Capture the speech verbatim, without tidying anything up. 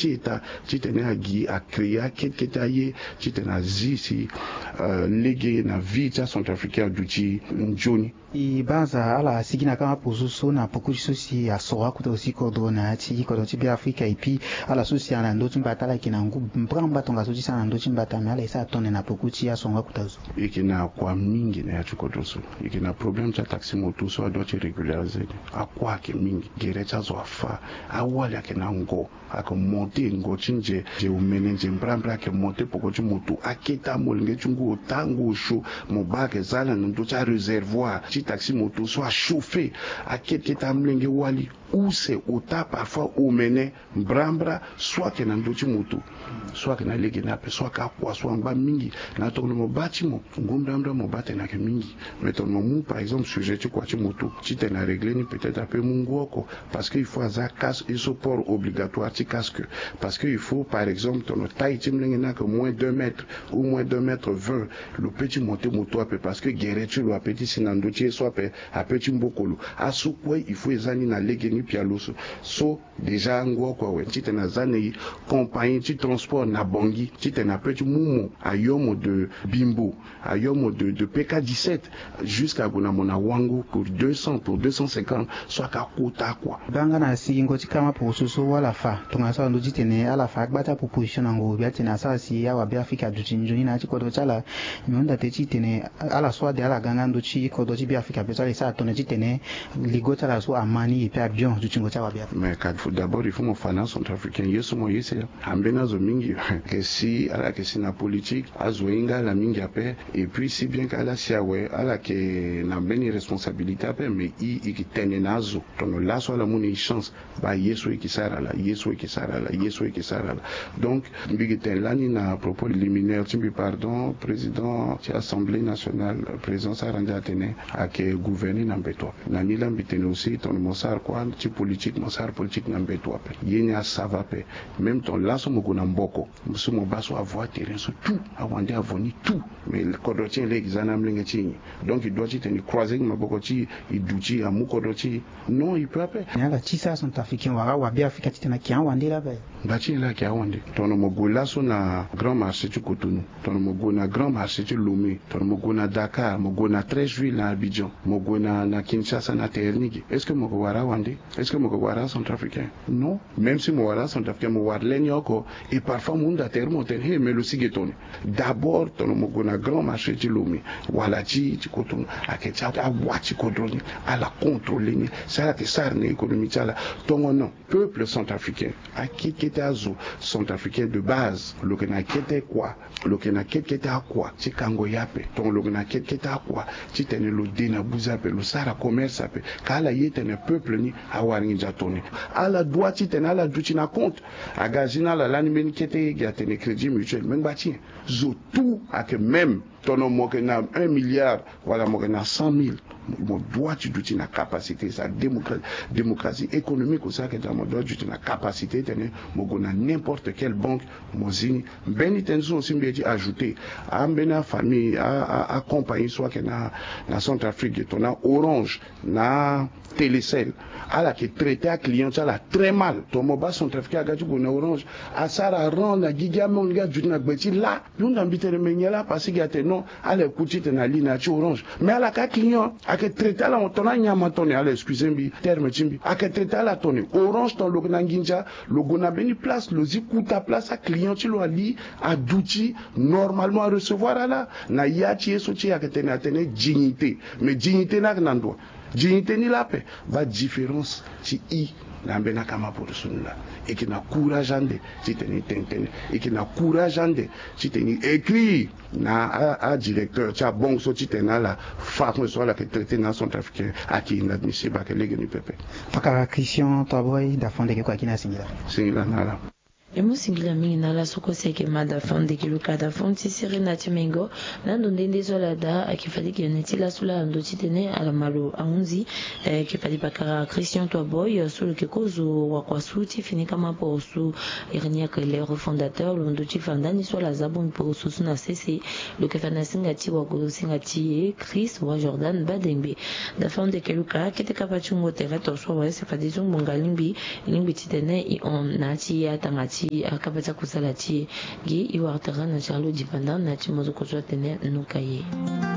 ti eta titene agi acréer akete kete aye titene azi si lege na vie ti acentrafricain aduti nzoni. E baa aza ala asigi na kama poso so na poko ti so si asoro akota aussi kodro na ya ti kodro ti Beafrika, et puis ala so si ala na ndö ti mbata ala yeke na ngu mbrambra tongaso ti sara na ndö ti mbata, mais ala esa atone na poko ti asoro akota so. E yeke na kua mingi na ya ti kodro so. E yeke na problème ti ataxi moto so adua ti régulariser ni. Akua ayeke mingi, gere ti azo afa, awali ayeke na ngo. Ayeke monte ngo ti nze, nze omene, nze mbrambra ayeke monte poko ti moto. Akete amolenge ti ngu ota, ngu osio. Mo baa ayeke za ala na ndö ti aréservoir ti taxi moto so achauffer. Akete kete amolenge wali use ota parfois omene mbrambra so ayeke na ndö ti moto. So ayeke na lege ni ape, so ayeke akua so angba mingi. Na tongana mo baa ti mo, ngu mbrambra mo baa tene ayeke mingi. Mais tongana mo mu par exemple sujet ti kua ti moto titene arégler ni, peut-être ape mu ngu oko. Parce que il faut aza casque, il faut port obligatoire ti casque. Parce que il faut par exemple tongana taille ti molenge ni ayeke moins deux mètres ou moins deux mètres vingt, lo peut ti monter moto ape parce que gere ti lo ape ti si na ndö ti ye so ape, ape ti mboko lo. Aso kue il faut eza ni na lege ni pialo so. So déjà ngu oko awe titene aza na e compagnie ti transport na Bangui titene ape ti mu mo, ayo mo de Bimbo, ayo mo de, de P K dix-sept, jusqu'à gue na mo na Wango pour deux cents, pour deux cent cinquante, so ayeke akota kua. Baa nga na sigingo ti kama poroso so wala fa tongana so ala ndö titene ala fa agba ti aproposition na ngoro gbia titene asara si awabeafrika aduti nzoni na ya ti kodro ti ala. Me hunda pe titene ala so ade ala ga nga ndö ti kodro ti Beafrika pe so ala esa atone titene ligo ti ala so ama ni ye pe abion dutingo ti awabeafrika. Mais ka d'abord il faut mo fa na acentrafricain ye so mo ye si ambeni azo mingi. Ayeke si ala yeke si na politique, azo ahinga ala mingi ape. Et puis si bien que ala si awe, ala yeke na mbeni responsabilité ape, mais e, e yeke tene na azo tongana laso ala mu na e chance. Baa ye so e yeke sara laa, ye so e yeke sara laa, ye so e yeke sara laa. Donc mbi yeke tene lani na propos liminaire ti mbi, pardon, président ti assemblée nationale, président Sarandji atene ayeke gouverner na mbeto ape. Na ni laa mbi tene aussi tongana mo sara kua ti politique, mo sara politique na mbeto ape. Ye ni asava ape. Même tongana laso mo gue na Mboko, so mo baa so avo aterrain so tout, awande avo ni tout. Mais kodro ti e laa e yeke za na amolenge ti e nyen? Donc e doit titene e croiser maboko ti e, e duti amu kodro ti e. Non, e peut ape. Mais ala ti sara centrafricain wala awabeafrika titene ayeke awande laa ape. Ngba ti nyen laa ayeke awande? Tongana mo gue laso na grand marché ti Cotonou, tongana mo gue na grand marché ti Lomé, tongana mo gue na Dakar, mo gue na treize villes na Abidjan, mo gue na, na Kinshasa, na terre ni ge, est-ce que mo yeke wara awande? Est-ce que mo yeke wara acentrafricain? Non. Même si mo wara acentrafricain, mo wara le ni oko. Et parfois mo hunda tere mo tene, he, mais lo si ge tongana nyen? D'abord tongana mo gue na grand marché ti Lomé wala ti, ti Cotonou, ayeke ti awa ti kodro ni, ala contrôler ni, si ala yeke sara na économie ti ala. Tongana peuple centrafricain, akete kete azo centrafricain de base, lo yeke na kete kua, lo yeke na kete kete akua ti kango ye ape, tongana lo yeke na kete kete akua titene lo de na buze ape, lo sara commerce ape, ka ala ye tene peuple ni awara nginza tongana nyen. Ala doit titene ala duti na compte. Aga zi na ala lani mbeni kete ge atene Crédit Mutuel, me ngba ti nyen? Zo tout ayeke même. Tongana mo yeke na un milliard wala mo yeke na cent mille, mo doit ti duti na capacité. Sa démocra-, démocratie économique aussi ayeke daa, mo doit ti duti na capacité titene mo gue na n'importe quelle banque, mo zi ni. Mbeni tënë so aussi mbi ye ti ajouter, ambeni afamille, a, a, acompagnie so ayeke na, na Centrafrique, tongana Orange na Télécel, ala yeke traiter aclient ti ala très mal. Tongana mo baa centrafricain aga ti gue na Orange, asara rang na gigi, amolenge aduti na gbe ti lâ. Mbi hunda mbi tene me nyen laa, parce que atene non, ala yeke ku titene ali na ya ti Orange. Mais ala yeke aclient, ayeke traiter ala tongana anyama tongana nyen, ala excuse mbi terme ti mbi, ayeke traiter ala tongana nyen? Orange tongana lo yeke na nginza, lo gue na mbeni place, lo zi kota place, aclient ti lo ali aduti normalement, arecevoir ala na ya ti ye so ti e ayeke tene atene dignité. Mais dignité ni ayeke na ndo? Dignité ni laa ape. Baa différence ti e na ambeni akama poto so ni laa. E yeke na courage ande titene e tene tënë. E yeke na courage ande titene e écrire na a, adirecteur ti abanque so titene ala façon so ala yeke traiter na acentrafricain ayeke inadmissible, ayeke lege ni pepe. Pakara Christian Toiboy, da fo ndeke kue ayeke na singila. Singila na ala. E mu singila mingi na ala so kue si ayeke ma da fo ndeke luka da fo ti sere na ti mengo. Na ndo nde nde so ala daa ayeke fade gi yoni ti laso laa na ndo titene ala ma lo ahunzi. Ayeke fade pakara Christian Toiboy so lo yeke kozo wakua so ti fini kama poroso. Iri ni ayeke le refondateur lo ndo ti fa ndani so ala za bongbi poroso so na sese. Lo yeke fa na singa ti wago singa ti e Chris wa Jordan Badengbe. Da fo ndeke luka kete kapa ti wungo tere to so awe si fade ti ngbonga lingbi. Lingbi titene e hon na ya ti e atanga ti ti akaba ti akusala ti e. Gi e wara tara na Charlot Djipanda na ti mozoko so atene Noka ye.